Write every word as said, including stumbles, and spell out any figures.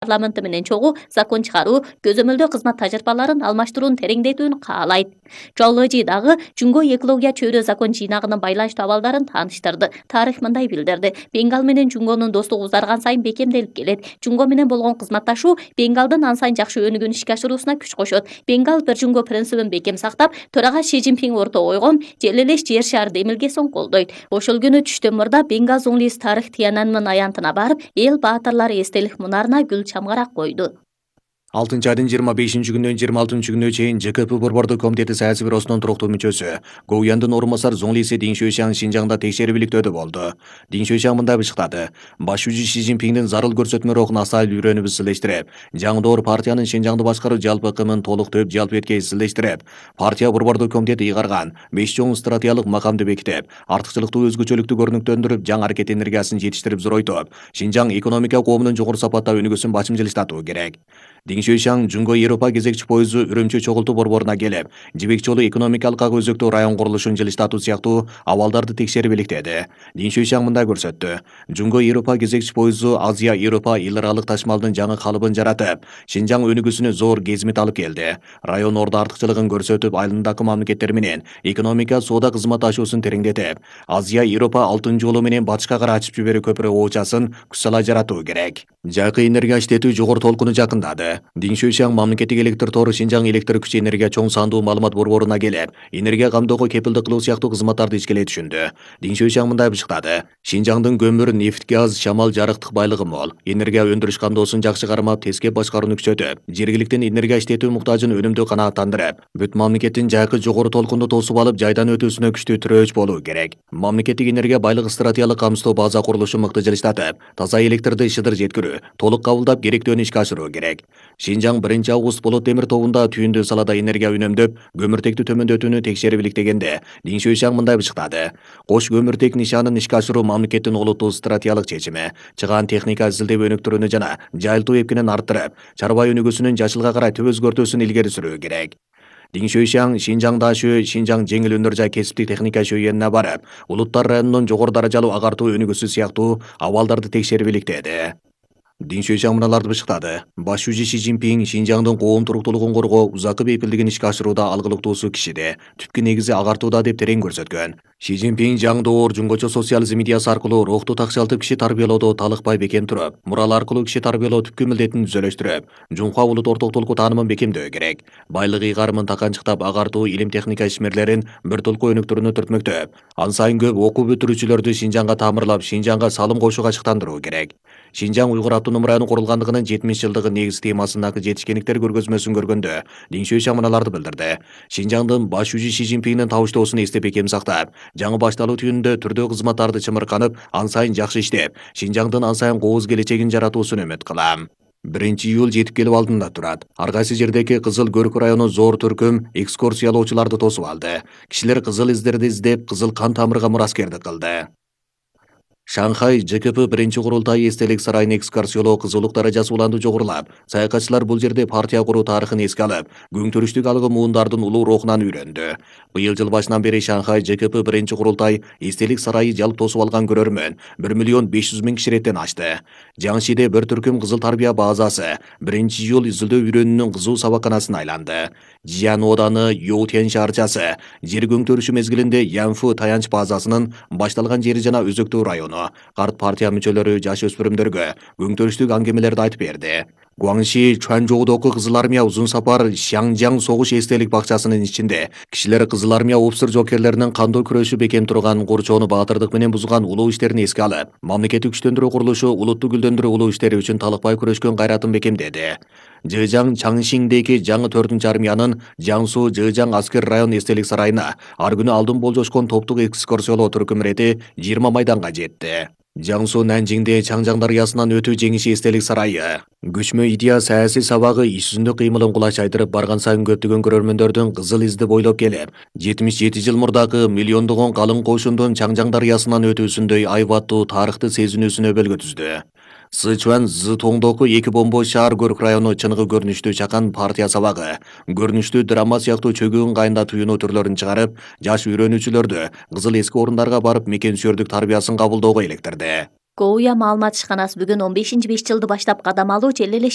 парламенти менен чогуу закон чыгаруу, көзөмөлдөө кызмат тажрыйбаларын алмаштырууну тереңдетүүнү каалайт. Жолложи дагы Жунго экология чөйрө закон жыйнагынын байланыштуу абалдарын тааныштырды. Тарых мындай билдирди: Бенгал менен Жунгонун достугу узарган сайын бекемделип келет. Жунго менен болгон кызматташуу Бенгалдын ан сайын жакшы өнүгүүнү ишке ашыруусуна күч кошот. Бенгал бир Жунго принцибин бекем сактап, төрага Ши Цзиньпин орто койгон жер элеш жер шаар демилгесин колдойт. Ошол күнү түштөн мурда Бенгал Зуңлис тарых Тиянанмын аянтына барып, эл баатырлары эстелик мунарына гүл чамгарак койду. алтынчы айдын жыйырма бешинчи күнүнөн жыйырма алтынчы күнүнө чейин Ж К П Борбордук комитети саясий бюросунун туруктуу мүчөсү Го Уяндын орун басары Зуңлиси Дин Шуйшан Шинжаңда текшерүүлүктөдө болду. Дин Шуйшан мындай бышыктады: башчы Ши Цзиньпиндин зарыл көрсөтмө рухуна асайыл үйрөнүп изилештирип, жаңдоор партиянын Шинжаңды башкаруу жалпы ыкымын толук төп жалпы эткей изилештирип, партия Борбордук комитети ыйгарган беш чоң стратегиялык макамды бекитип, артыкчылыктуу өзгөчөлүктү көрүнүктөндүрүп, жаңы аракет энергиясын жетиштирип зоройтуп, Шинжаң экономика коомунун жогору сапатта өнүгүүсүн башым жылыштатуу керек. Дин Шуйшан Жунго Европа кезекчи поезду Үрүмчү чогултуу борборуна келип, жибек жолу экономикалык ак өзөктүү район курулушун жылыштатуу сыяктуу абалдарды текшерип иликтеди. Дин Шуйшан мындай көрсөттү: Жунго Европа кезекчи поезду Азия Европа эл аралык ташмалдын жаңы калыбын жаратып, Шинжаң өнүгүүсүнө зор кезмит алып келди. Район ордо артыкчылыгын көрсөтүп, айылындагы мамлекеттер менен экономика соода кызматташуусун тереңдетип, Азия Европа алтын жолу менен батышка карай ачып жиберүү көпүрө оочасын күч сала жаратуу керек. Жайкы энергия иштетүү жогору толкуну жакындады. Дин Шуйшан мамлекеттик электр тору Шинжаң электр күчү энергия чоң сандуу маалымат борборуна келип, энергия камдоого кепилдик кылуу сыяктуу кызматтарды ишкелей түшүндү. Дин Шуйшан мындай бышыктады: Шинжаңдын көмүр, нефть, газ, шамал, жарыктык байлыгы мол. Энергия өндүрүш камдоосун жакшы кармап, тескеп башкарууну күчөтүп, жергиликтин энергия иштетүү муктажын өнүмдүү канааттандырып, бүт мамлекеттин жайкы жогору толкунду тосуп алып, жайдан өтүүсүнө күчтүү тирөөч болуу керек. Мамлекеттик энергия байлыгы стратегиялык камсыздоо база курулушу мыкты жылыштатып, таза электрди шыдыр жеткирүү, толук кабылдап, керектүүнү ишке ашыруу керек. Шинжаң биринчи август болот темир тобунда түйүндүү салада энергия үнөмдөп, көмүртекти төмөндөтүүнү текшерип иликтегенде, Дин Шуйшан мындай бышыктады: Кош көмүртек нишанын ишке ашыруу мамлекеттин олуттуу стратегиялык чечими. Чыгаан техника изилдеп өнүктүрүүнү жана жайылтуу эпкинин арттырып, чарба өнүгүүсүнүн жашылга карай түп өзгөртүүсүн илгери сүрүү керек. Дин Шуйшан Шинжаң дашөө, Шинжаң жеңил өнөр жай кесиптик техника шөйөнүнө барып, улуттар районунун жогору даражалуу агартуу өнүгүүсү сыяктуу абалдарды текшерип иликтеди. Дин Шуйшан мыналарды бышыктады: башчы Ши Цзиньпин Шинжаңдын коом туруктуулугун коргоо, узакы бейпилдигин ишке ашырууда алгылыктуусу кишиде, түпкү негизи агартууда деп терең көрсөткөн. Ши Цзиньпин жаңдоор жунгочо социализм идеясы аркылуу рухту такшалтып киши тарбиялоодо талыкпай бекем туруп, мурал аркылуу киши тарбиялоо түпкү милдетин түзөлөштүрүп, жумка улут ортоктулуку таанымын бекемдөө керек. Байлык ыйгарымын таканчыктап, агартуу, илим техника ишмерлерин бир толку өнүктүрүүнү түртмөктөп, ан сайын көп окуу бүтүрүүчүлөрдү Шинжаңга тамырлап, Шинжаңга салым кошууга ачыктандыруу керек. Шинжаң уйгур автоном району курулгандыгынын жетимиш жылдыгы негиз темасындагы жетишкендиктер көргөзмөсүн көргөндө Дин Шуйшан мыналарды билдирди: Шинжаңдын башчы Ши Цзиньпиндин табыштоосун эстеп бекем сактап, жаңы башталуу түйүнүндө түрдүү кызматтарды чымырканып, ан сайын жакшы иштеп, Шинжаңдын ан сайын кооз келечегин жаратуусун үмүт кылам. биринчи июль жетип келип алдында турат. Ар кайсы жердеги Кызыл Көрк району зор түркүм экскурсиялоочуларды тосуп алды. Кишилер кызыл издерди издеп, кызыл кан тамырга мураскердик кылды. Шанхай Ж К П биринчи курултай эстелик сарайын экскурсиялоо кызуулук даражасы уланды жогорулап, саякатчылар бул жерде партия куруу тарыхын эске алып, күңтүрүштүк алгы муундардын улуу рухунан үйрөндү. Быйыл жыл башынан бери Шанхай Ж К П биринчи курултай эстелик сарайы жалп тосуп алган көрөрмөн бир миллион беш жүз миң киши реттен ашты. Жаңшиде бир түркүм кызыл тарбия базасы биринчи июль изилдөө үйрөнүүнүн кызуу сабакканасына айланды. Жиан ооданы Йоутен шаарчасы жер көңтөрүшү мезгилинде Янфу таянч базасынын башталган жери жана өзөктүү району карт партия мүчөлөрү жаш өспүрүмдөргө көңтөрүштүк аңгемелерди айтып берди. Гуаңши Чуанчжоудогу Кызыл армия узун сапар Шаңжаң согуш эстелик бакчасынын ичинде кишилер Кызыл армия опсур жокерлеринин кандуу күрөшү бекем турган Курчоону баатырдык менен бузган улуу иштерин эске алып, мамлекеттик күчтөндүрүү курулушу улутту гүлдөндүрүү улуу иштери үчүн талыкпай күрөшкөн кайратын бекемдеди. Жыжаң Чаңшиңдеги жаңы төртүнчү армиянын Жаңсу Жыжаң аскер район эстелик сарайына ар күнү алдын болжошкон топтук экскурсиялоо түркүм ирети жыйырма майданга жетти. Жаңсу Нанжиңде Чаңжаң дарыясынан өтүү жеңиши эстелик сарайы. Күчмө идея саясий сабагы иш жүзүндө кыймылын кулачайдырып барган сайын көптөгөн көрөрмөндөрдүн кызыл изди бойлоп келип, жетимиш жети жыл мурдагы миллиондогон калың кошундун Чаңжаң дарыясынан өтүүсүндөй айбаттуу тарыхты сезинүүсүнө белги түздү. Сычуан Зытоңдогу эки бомбо шаар Көрк району чыныгы көрүнүштүү чакан партия сабагы, көрүнүштүү драма сыяктуу чөгүү ыңгайында туюнуу түрлөрүн чыгарып, жаш үйрөнүүчүлөрдү кызыл эски орундарга барып мекен сүйөрдүк тарбиясын кабылдоого электирди. Гоуя маалымат ишканасы бүгүн он бешинчи беш жылды баштап кадам алуу жел элеш